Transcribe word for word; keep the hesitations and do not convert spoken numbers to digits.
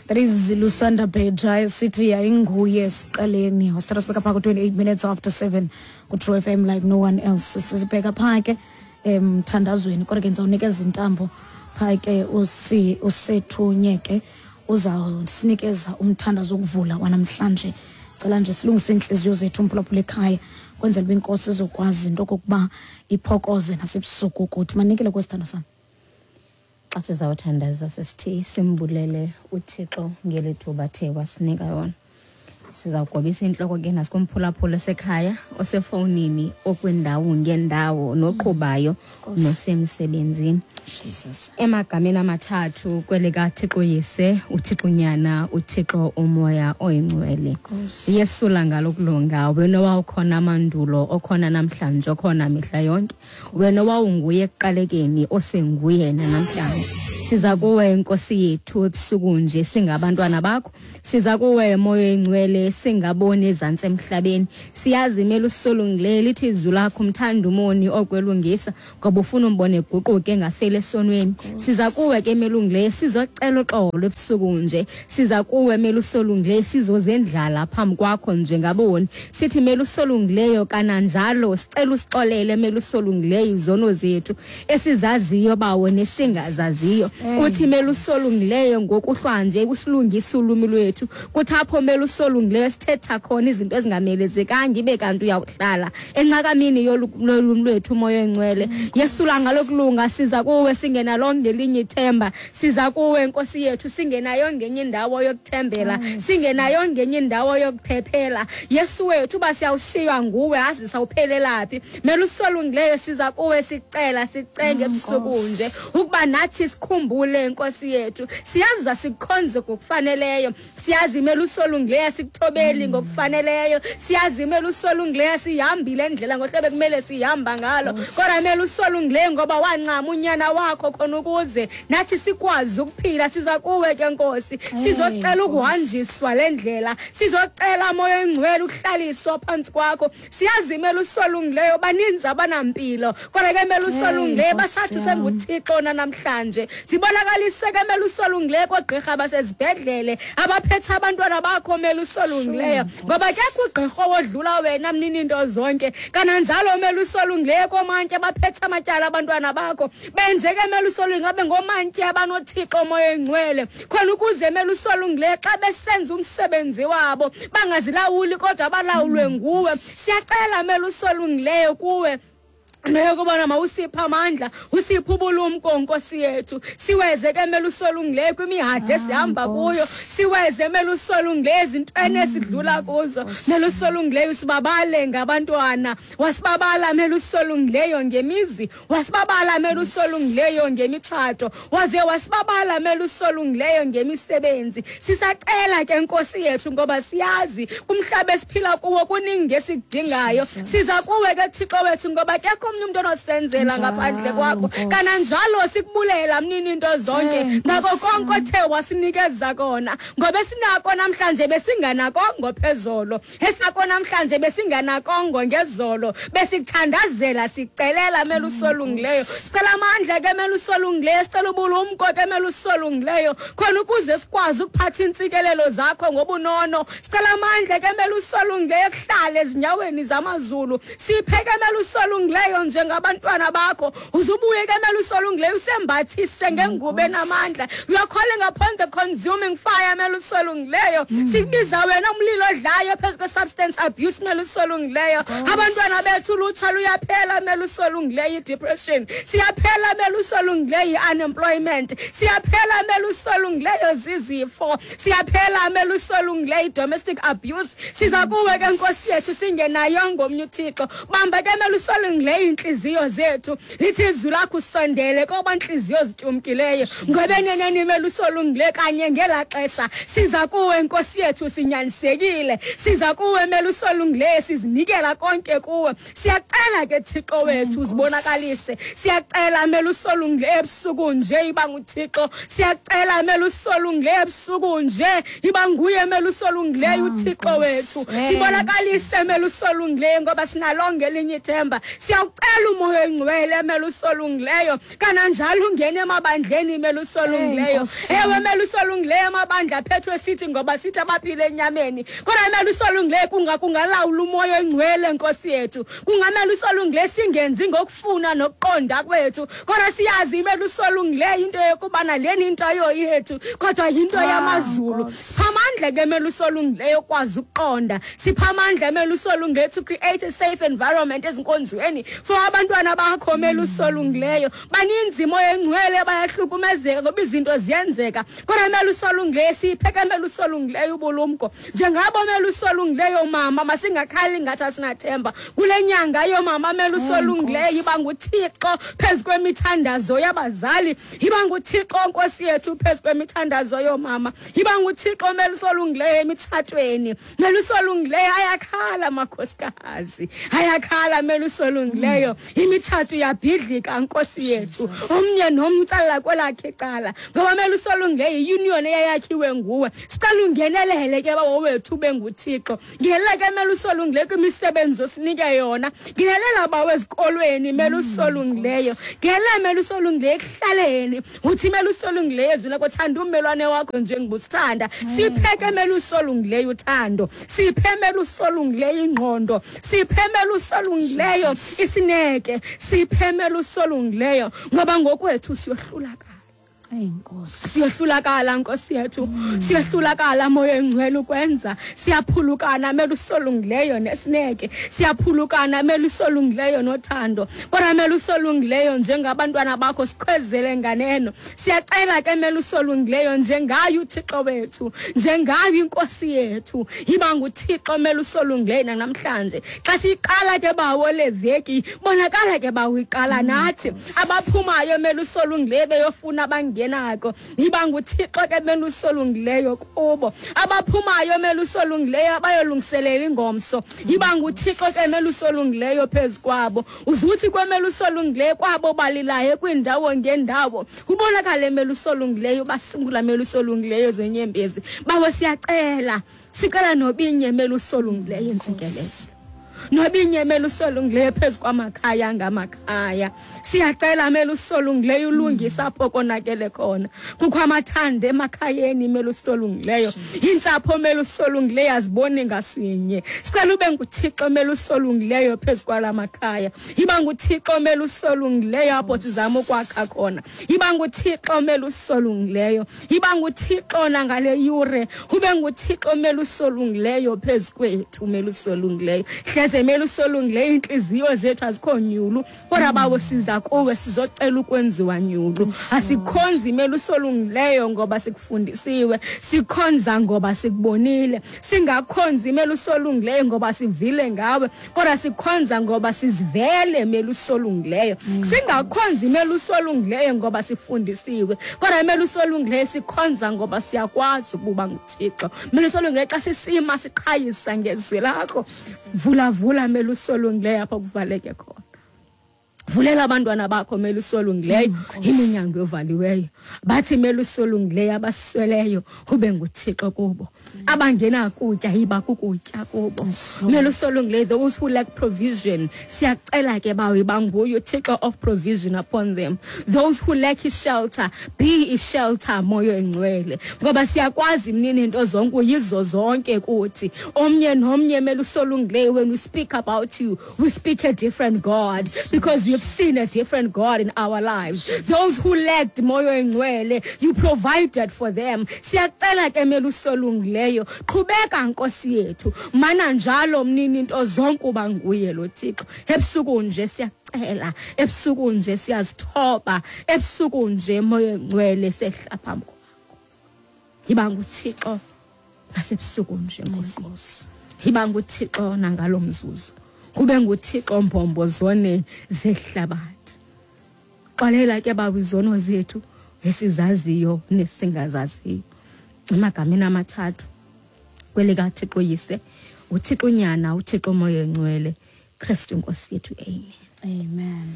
That is Lusanda Beja sithi yayinguye siqaleni. Wasithatha sibeka phaa ku-twenty-eight minutes after seven ku-True F M like no one else. Sisibheka phaa ke emthandazweni, kodwa ke ndizawunikeza intambo phaa ke usi usethunye ke uzawusinikeza umthandazo wokuvula wanamhlanje. Cela nje silungise iintliziyo zethu mphulaphula ekhaya, kwenzela uba inkosi izokwazi into okokuba iphokoze nasebusuku kuthi. Manikele kwesithando sam. Xa sizawuthandaza sisithi simbulele uThixo ngeli thuba athe wasinika yona. Sizawugobisa intloko ke nasikumphulaphula osekhaya, osefowunini, okwindawo ngendawo, noqhubayo, nosemsebenzini. Jesus. Emagameni amathathu kwelikaThixo Yise, uThixo Nyana, uThixo uMoya oyiNgcwele. Yesula ngalokulunga, wena wawukhona mandulo, okhona namhlanje, okhona mihla yonke. Wena wawunguye ekuqalekeni, osenguye namhlanje. Siza kuwe Nkosi yethu ebusuku nje singabantwana bakho. Siza kuwe Moya oyiNgcwele singaboni ezantsi emhlabeni. Siyazi imele usolungileyo, lithi izwi lakho umthanda umoni okwelungisa, ngoba ufuna umbone eguquke engafeli esonweni. Siza kuwe ke melungileyo sizocela uxolo ebusuku nje. Siza kuwe melusolungileyo sizozendlala phambi kwakho njengaboni. Sithi melusolungileyo kananjalo sicela usixolele melusolungileyo izono zethu esizaziyo bawo nesingazaziyo. Kuthi melusolungileyo ngokuhlwa nje usilungise ulwimi lwethu. Kuthi apho melusolungileyo sithetha khona izinto ezingamelezekanga ibe kanti uyawuhlala encakamini yolwimi lwethu uMoya oyiNgcwele. Yesula ngalokulunga, siza kuwe singenalo ngelinye ithemba. Siza kuwe Nkosi yethu singenayo ngenye indawo yokuthembela, singenayo ngenye indawo yokuphephela. Yesu wethu uba siyawushiywa nguwe azi sawuphelelaphi. Melusolungileyo siza kuwe sicela sicenge ebusuku nje ukuba nathi sikhumbule Nkosi yethu. Siyazi sikukhonze ngokufaneleyo, siyazi melusolungileyo sikuthobeli ngokufaneleyo, siyazi melusolungileyo sihambile endlela ngohlobo ekumele sihamba ngalo. Kodwa melusolungileyo ngoba wancama unyana wakho khona ukuze nathi sikwazi ukuphila. Siza kuwe ke Nkosi, sizocela ukuhanjiswa le ndlela, sizocela Moya oyiNgcwele ukuhlaliswa phansi kwakho. Siyazi melusolungileyo baninzi abanampilo, kodwa ke melusolungileyo basathi senguThixo namhlanje. Sibonakalise ke melusolungileyo koogqirha basezibhedlele abaphethe abantwana bakho melusolungileyo, ngoba kekho ugqirha owodlula wena mnini into zonke. Kananjalo melusolungileyo koomantyi abaphethe amatyala abantwana bakho, benzeke melusolungileyo babe ngoomantyi abanoThixo Moya oyiNgcwele, khona ukuze melusolungileyo xa besenza umsebenzi wabo bangazilawuli kodwa balawulwe nguwe. Siyacela melusolungileyo kuwe nokubona mawusipha amandla, usipha ubulumko Nkosi yethu. Siweze ke melusolungileyo kwimihadi esihamba kuyo, siweze melusolungileyo ezintweni esidlula kuzo. Melusolungileyo usibabale ngabantwana, wasibabala melusolungileyo ngemizi, wasibabala melusolungileyo ngemitshato, waze wasibabala melusolungileyo ngemisebenzi. Sisacela ke Nkosi yethu ngoba siyazi kumhlaba esiphila kuwo kuningi esikudingayo. Siza kuwe ke Thixo wethu ngoba kekho umuntu onosenzela ngaphandle kwakho. Kananjalo sikubulela mnini into zonke ngako konke othe wasinikeza kona, ngoba esinako namhlanje besinganakongo phezolo, esako namhlanje besinganakongo ngezolo. Besikuthandazela sicelela melusolungileyo, sicela amandla ke melusolungileyo, sicela ubulumko ke melusolungileyo khona ukuze sikwazi ukuphatha intsikelelo zakho ngobunono. Sicela amandla ke melusolungileyo kuhlale ezinyaweni zamazulu. Siphe ke melusolungileyo njengabantwana bakho, uzubuye ke melusolungileyo usembathise ngengubo enamandla. We are calling upon the consuming fire melusolungileyo. Sikubiza wena umlilo odlayo phezu kwe-substance abuse melusolungileyo. Abantwana bethu ulutsha luyaphela melusolungileyo i-depression, siyaphela melusolungileyo i-unemployment, siyaphela melusolungileyo zizifo, siyaphela melusolungileyo i-domestic abuse. Siza kuwe ke Nkosi yethu singenayo ngomnye uThixo. Bamba ke melusolungileyo inhliziyo zethu, lithi izwi lakho usondele koba inhliziyo zityumkileyo, ngoba eneneni melusolungileyo kanye ngela xesha. Siza kuwe Nkosi yethu sinyanisekile, siza kuwe melusolungileyo sizinikela konke kuwe. Siyacela ke Thixo wethu uzibonakalise, siyacela melusolungileyo ebusuku nje iba nguThixo, siyacela melusolungileyo ebusuku nje iba nguye melusolungileyo uThixo wethu. Sibonakalise melusolungileyo ngoba sinalonke elinye ithemba. Siya Siyawucela umoya oyingcwele melusolungileyo, kananjalo ungene emabandleni melusolungileyo. Ewe melusolungileyo, amabandla aphethwe sithi ngoba sithi abaphile enyameni, kodwa melusolungileyo kunga kungalawula umoya oyingcwele Nkosi yethu. Kungamelusolungileyo singenzi ngokufuna nokuqonda kwethu, kodwa siyazi melusolungileyo into yokubana leni into yethu, kodwa yinto yamazulu. Siphamandla ke melusolungileyo kwazi ukuqonda, siphamandla melusolungileyo to create a safe environment ezinkonzweni for abantwana bakho melusolungileyo. Baninzi moya engcwele bayahlukumezeka ngoba izinto ziyenzeka, kodwa melusolungileyo sipheke melusolungileyo ubulumko. Njengabo melusolungileyo mama, masingakhali ngathi asinathemba kule nyanga yomama melusolungileyo. Iba nguThixo phezu kwemithandazo yabazali, iba nguThixo Nkosi yethu phezu kwemithandazo yomama, iba nguThixo melusolungileyo emitshatweni. Melusolungileyo ayakhala makhosikazi, ayakhala melusolungileyo, imitshato iyabhidlika Nkosi yethu, omnye nomnye utsala kwelakhe icala, ngoba melusolungileyo iunion eyayakhiwe nguwe. Sicela ungenelele ke bawo wethu ube nguThixo, ngelela ke melusolungileyo kwimisebenzi osinike yona, ngelela bawo ezikolweni melusolungileyo, ngelela melusolungileyo ekuhlaleni. Uthi melusolungileyo ezwi lakho, thanda ummelwane wakho njengobusithanda. Siphe ke melusolungileyo uthando, siphe melusolungileyo ingqondo, siphe melusolungileyo isineke, siphe melusolungileyo, ngoba ngokwethu siyohlulakala. Nkosi, siyohlulakala Nkosi yethu, siyohlulakala moya engcwele ukwenza, siyaphulukana melusolungileyo nesineke, siyaphulukana melusolungileyo nothando, kodwa melusolungileyo njengabantwana bakho sikhwezele nganeno. Siyacela ke melusolungileyo njengayo uThixo wethu, njengayo inkosi yethu, yiba nguThixo melusolungileyo namhlanje. Xa siqala ke bawo leveki, bonakala ke bawo iqala nathi abaphumayo melusolungileyo beyofuna abangenako, yiba nguThixo ke melusolungileyo kubo. Abaphumayo melusolungileyo abayolungiselela ingomso, yiba nguThixo ke melusolungileyo phezu kwabo. Uzuthi kwemelusolungileyo kwabo balilayo kwindawo ngendawo, ubonakale melusolungileyo basungula melusolungileyo zenyembezi. Bawo siyacela, sicela nobinye melusolungileyo intsikelelo, nobinye melusolungileyo phezu kwamakhaya ngamakhaya. Siyacela melusolungileyo ulungisa apho konakele khona. Kukho amathanda emakhayeni melusolungileyo, intsapho melusolungileyo aziboni ngasinye. Sicela ube nguThixo melusolungileyo phezu kwalamakhaya, iba nguThixo melusolungileyo apho sizama ukwakha khona, iba nguThixo melusolungileyo, iba nguThixo nangale yure, ube nguThixo melusolungileyo phezu kwethu melusolungileyo. Hleze melusolungileyo inhliziyo zethu azikho nyulu, kodwa bawo siza kuwe sizocela ukwenziwa nyulu. Asikhonzi melusolungileyo ngoba sikufundisiwe, sikhonza ngoba sikubonile, singakhonzi melusolungileyo ngoba sivile ngawe, kodwa sikhonza ngoba sizivele melusolungileyo. Singakhonzi melusolungileyo ngoba sifundisiwe, kodwa melusolungileyo sikhonza ngoba siyakwazi ukuba nguThixo. Melusolungileyo xa sisima siqhayisa ngezwi lakho, vula vula melusolungileyo apho kuvaleke khona. Vulela abantwana bakho melusolungileyo iminyango evaliweyo. Bathi melusolungileyo abasweleyo ube nguThixo kubo, abangena kutya yiba kukutya kubo. Melusolungileyo those who lack provision, siyacela ke bawo iba nguye uThixo of provision upon them. Those who lack a shelter, be a shelter moya engcwele, ngoba siyakwazi mnini into zonke uyizo zonke kuthi. Omnye nomnye melusolungileyo, when we speak about you, we speak a different God, because we have seen a different God in our lives. Those who lacked moya engcwele, you provided for them. Siyacela ke melusolungileyo, qhubeka Nkosi yethu, mana njalo mnini into zonke uba nguye lo Thixo. Ebusuku nje siyacela, ebusuku nje siyazithoba, ebusuku nje moya engcwele sehla phambi kwakho. Yiba nguThixo nasebusuku nje Nkosi, yiba nguThixo nangalo mzuzu, kube nguThixo mbombo zone zehlabathi. Xolela ke bawo izono zethu esizaziyo nesingazaziyo. Emagameni amathathu kwelikaThixo Yise, uThixo Nyana, uThixo Moya Engcwele, Kristu Nkosi yethu. Amen. Amen.